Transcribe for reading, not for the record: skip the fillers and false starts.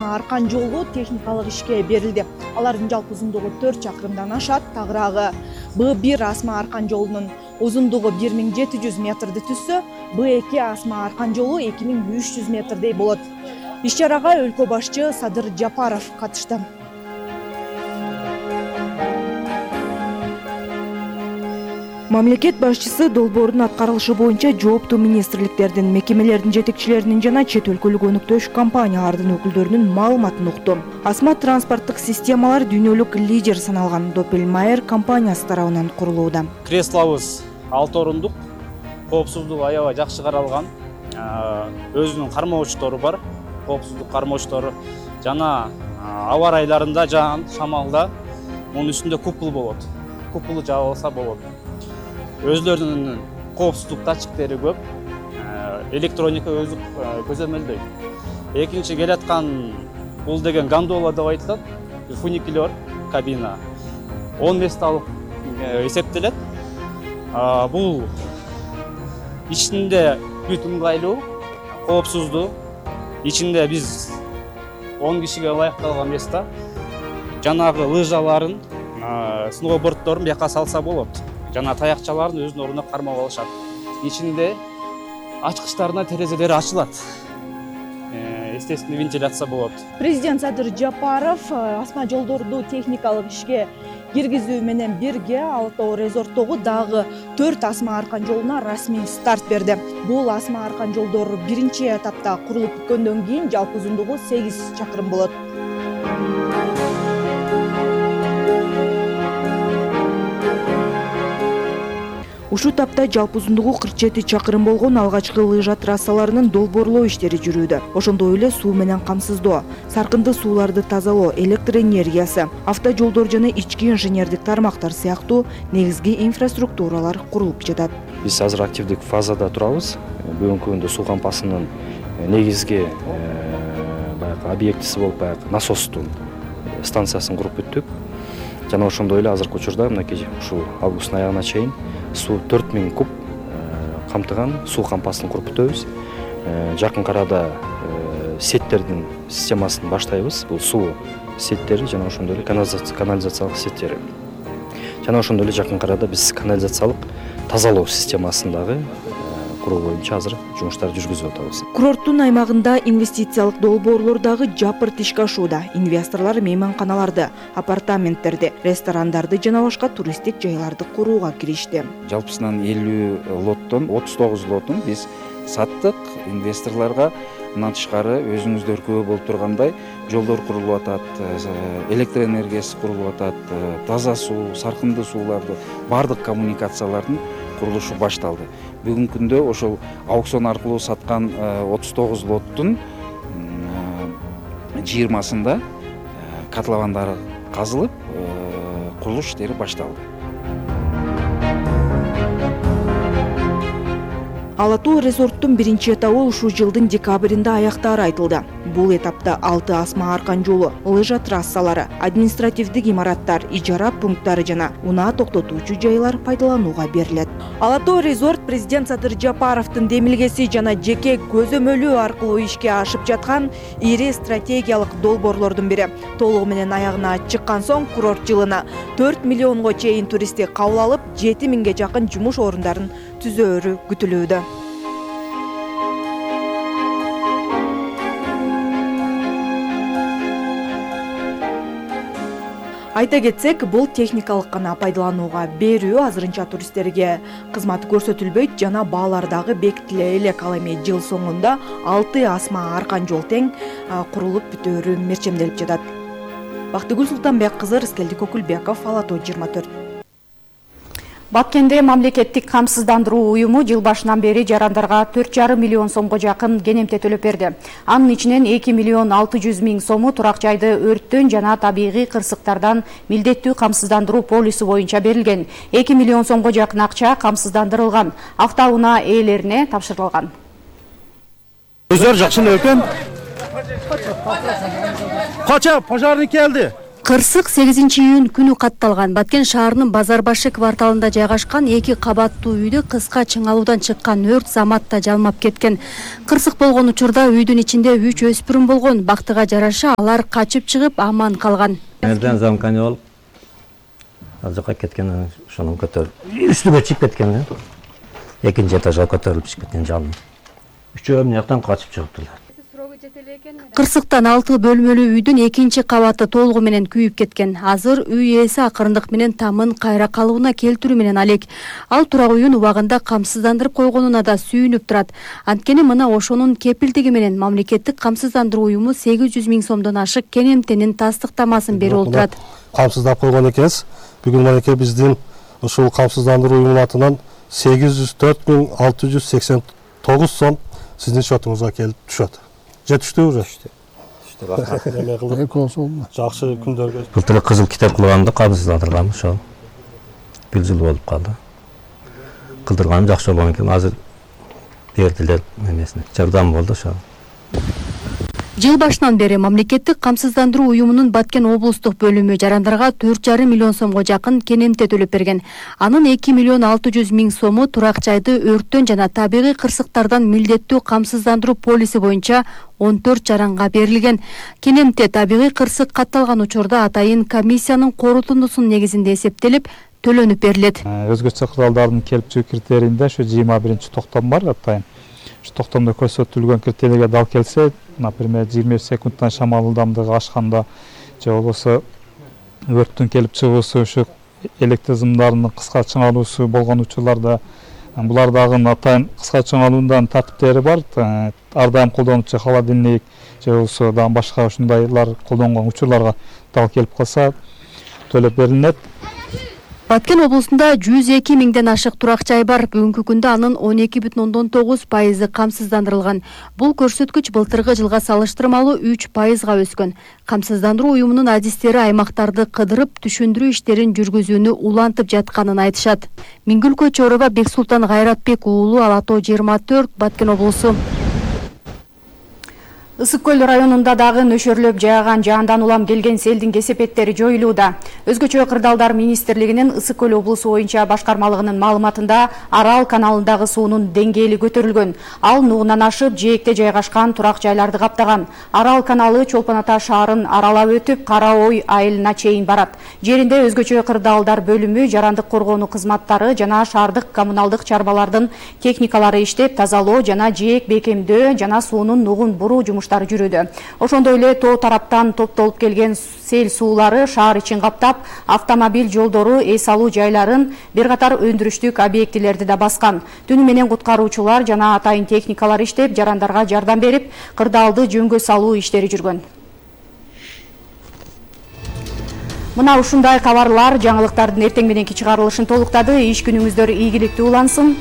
Аркан жолу техникалык ишке берилди. Алардын жалпы узундугу 4 чакырымдан ашат. Тагыраагы Б1 Асма Аркан жолунун узундугу 1700 метрди түзсө, Б2 Асма Аркан жолу 2300 метрдей болот. Иш-чарага өлкө башчы Садыр Жапаров катышты. Мамлекет башчысы долбоордун аткарылышы боюнча жооптуу министрликтердин, мекемелердин жетекчилеринин жана чет өлкөлүк өнүктүрүш компаниялардын өкүлдөрүнүн маалыматын укту. Асма транспорттук системалар дүйнөлүк лидер саналган Doppelmayr компаниясы тарабынан курулууда. Креслобуз 6 орундук, коопсуздугу аябай жакшы каралган, өзүнүн кармоочтору бар, коопсуздук кармоочтору жана аба ырайларында, жаан, шамалда мунун үстүндө купол болот. Куполу жаап алса болот. Өзлөрүнүн коопсуздук датчиктери көп, электроника өзү көзөмөлдөйт. Экинчи келаткан бул деген гондола деп айтылат, фуникулер кабина 10 месталык эсептелет. Бул ичинде бүт ыңгайлуу, коопсуздуу. Ичинде биз 10 кишиге ылайыкталган места. Жанагы лыжаларын, сноуборддорун бияка салса болот. Жана таякчаларын өзүнүн ордуна кармап алышат. Ичинде ачкычтарына терезелери ачылат. Естественный вентиляция болот. Президент Садыр Жапаров асма жолдорду техникалык ишке киргизүү менен бирге Ала-Тоо резорттогу дагы 4 Асма Аркан жолуна расмий старт берди. Бул Асма Аркан жолдору биринчи этапта курулуп бүткөндөн кийин жалпы узундугу 8 чакырым болот. Ушул тапта жалпы узундугу 47 чакырым болгон алгачкы лыжа трассаларынын долбоорлоо иштери жүрүүдө. Ошондой эле суу менен камсыздоо, саркынды сууларды тазалоо, электр энергиясы, автожолдор жана ички инженердик тармактар сыяктуу негизги инфраструктуралар курулуп жатат. Биз азыр активдик фазада турабыз. Бүгүнкү күндө суу кампасынын негизги баягы объектиси болуп баягы насостун станциясын куруп бүттүк. Жана ошондой эле азыркы учурда мынакей ушул августтун аягына чейин суу 4000 куб камтыган суу кампасын куруп бүтөбүз. Жакын арада сеттердин системасын баштайбыз. Бул суу сеттери жана ошондой эле канализациялык сеттери. Жана ошондой эле жакын арада биз канализациялык тазалоо системасын дагы куруу боюнча азыр жумуштарды жүргүзүп атабыз. Курорттун аймагында инвестициялык долбоорлор дагы жапырт ишке ашууда. Инвесторлор мейманканаларды, апартаменттерди, ресторандарды жана башка туристтик жайларды курууга киришти. Жалпысынан 50 лоттон 39 лотун биз саттык. Инвесторлорго мындан тышкары өзүңүздөр күбө болуп тургандай жолдор курулуп атат, электр энергиясы курулуп атат, таза суу, саркынды сууларды, бардык коммуникациялардын курулушу башталды. Бүгүнкү күндө ошол аукцион аркылуу саткан 39 лоттун 20-сында котловандары казылып, курулуш иштери башталды. Ала-Тоо резорттун биринчи этабы ушул жылдын декабринде аяктаары айтылды. Бул этапта 6 Асма Аркан жолу, лыжа трассалары, административдик имараттар, ижара пункттары жана унаа токтотуучу жайлар пайдаланууга берилет. Ала-Тоо резорт президент Садыр Жапаровдун демилгеси жана жеке көзөмөлү аркылуу ишке ашып жаткан ири стратегиялык долбоорлордун бири. Толугу менен аягына чыккан соң курорт жылына 4 миллионго чейин туристти кабыл алып, 7000ге жакын жумуш орундарын түзөөрү күтүлүүдө. Айта кетсек, бул техникалык гана пайдаланууга берүү азырынча туристтерге кызмат көрсөтүлбөйт жана баалар дагы бекитиле элек. Ал эми жыл соңунда 6 Асма Аркан жол тең курулуп бүтөөрү мерчемделип жатат. Бактыгүл Султанбек кызы, Рыскелди Көкүлбеков, Ала-Тоо 24. Баткенде мамлекеттик камсыздандыруу уюму жыл башынан бери жарандарга 4,5 миллион сомго жакын кенемте төлөп берди. Анын ичинен 2 миллион 600 миң сому турак жайды өрттөн жана табигый кырсыктардан милдеттүү камсыздандыруу полису боюнча берилген. 2 миллион сомго жакын акча камсыздандырылган, автоунаа ээлерине тапшырылган. Өздөрү жакшы экен. Кача пожарный келди. Кырсык 8-июнь күнү катталган. Баткен шаарынын Базар башы кварталында жайгашкан 2 кабаттуу үйдө кыска чыңалуудан чыккан өрт заматта жалмап кеткен. Кырсык болгон учурда үйдүн ичинде 3 өспүрүм болгон. Бактыга жараша алар качып чыгып аман калган. Эрден замканы болуп, ал жака кеткен, ошону көтөрүп үстүгө чыгып кеткен. Экинчи этажга көтөрүлүп чыгып кеткен жалын. Үчөө эмне жактан качып чыгыптылар. Кырсыктан 6 бөлмөлүү үйдүн 2 кабаты толугу менен күйүп кеткен. Азыр үй ээси акырындык менен тамын кайра калыбына келтирүү менен алек. Ал турак үйүн убагында камсыздандырып койгонуна да сүйүнүп турат. Анткени мына ошонун кепилдиги менен мамлекеттик камсыздандыруу уюму 800 000 сомдон ашык кенемтенин тастыктамасын берип отурат. Камсыздап койгон экенбиз. Бүгүн манекей биздин ушул камсыздандыруу уюмунун атынан 804 689 сом сиздин счетуңузга келип түшөт. Жетиштүү уже. Жакшы күндөргө. Былтыр кызыл китеп кылганда камсыздандыргам ошол. Бир жыл болуп калды. Кылдырганым жакшы болгон экен, азыр бердилер эмесине. Жардам болду ошол. Жыл башынан бери мамлекеттик камсыздандыруу уюмунун Баткен облустук бөлүмү жарандарга 4,5 миллион сомго жакын кенемте төлөп берген. Анын 2,6 миллион сому турак жайды өрттөн жана табигый кырсыктардан милдеттүү камсыздандыруу полиси боюнча 14 жаранга берилген. Кенемте табигый кырсык катталган учурда атайын комиссиянын корутундусунун негизинде эсептелип, төлөнүп берилет. Өзгөчө куралдардын келип чыгуу критерийинде ушу 21-токтом бар атайын. Ушу токтомдо көрсөтүлгөн критерийге дал келсе, например, 20 секундтан шамал ылдамдыгы ашканда же болбосо өрттүн келип чыгуусу, ушу электр сымдарынын кыска чыңалуусу болгон учурларда булар дагы атайын кыска чыңалуунун тартиптери бар. Ар дайым колдонуучу холодильник же болбосо дагы башка ушундайлар колдонгон учурларга дал келип калса төлөп берилет. Баткен облусунда 102 000ден ашык турак жай бар. Бүгүнкү күндө анын 12,9% камсыздандырылган. Бул көрсөткүч былтыркы жылга салыштырмалуу 3%га өскөн. Камсыздандыруу уюмунун адистери аймактарды кыдырып, түшүндүрүү иштерин жүргүзүүнү улантып жатканын айтышат. Миңгүлкө Чороба, Бексултан Кайратбек уулу, Ала Тоо 24, Баткен облусу. Ысык көл районунда дагы нөшөрлөп жааган жаандан улам келген селдин кесепеттери жоюлууда. Өзгөчө кырдаалдар министрлигинин Ысык көл облусу боюнча башкармалыгынын маалыматында Арал каналындагы суунун деңгээли көтөрүлгөн. Ал нугунан ашып, жээкте жайгашкан турак жайларды каптаган. Арал каналы Чолпон Ата шаарын аралап өтүп, Кара Ой айылына чейин барат. Жеринде өзгөчө кырдаалдар бөлүмү, жарандык коргонуу кызматтары жана шаардык коммуналдык чарбалардын техникалары иштеп, тазалоо жана жээк бекемдөө жана суунун нугун буруу жумуштары жүрүүдө. Ошондой эле тоо тараптан топтолуп келген сел суулары шаар ичин каптап, автомобиль жолдору, эс алуу жайларын, бир катар өндүрүштүк объектилерди да баскан. Түнү менен куткаруучулар жана атайын техникалар иштеп, жарандарга жардам берип, кырдаалды жөнгө салуу иштери жүргөн. Мына ушундай кабарлар жаңылыктардын эртең мененки чыгарылышын толуктады. Иш күнүңүздөр ийгиликтүү улансын.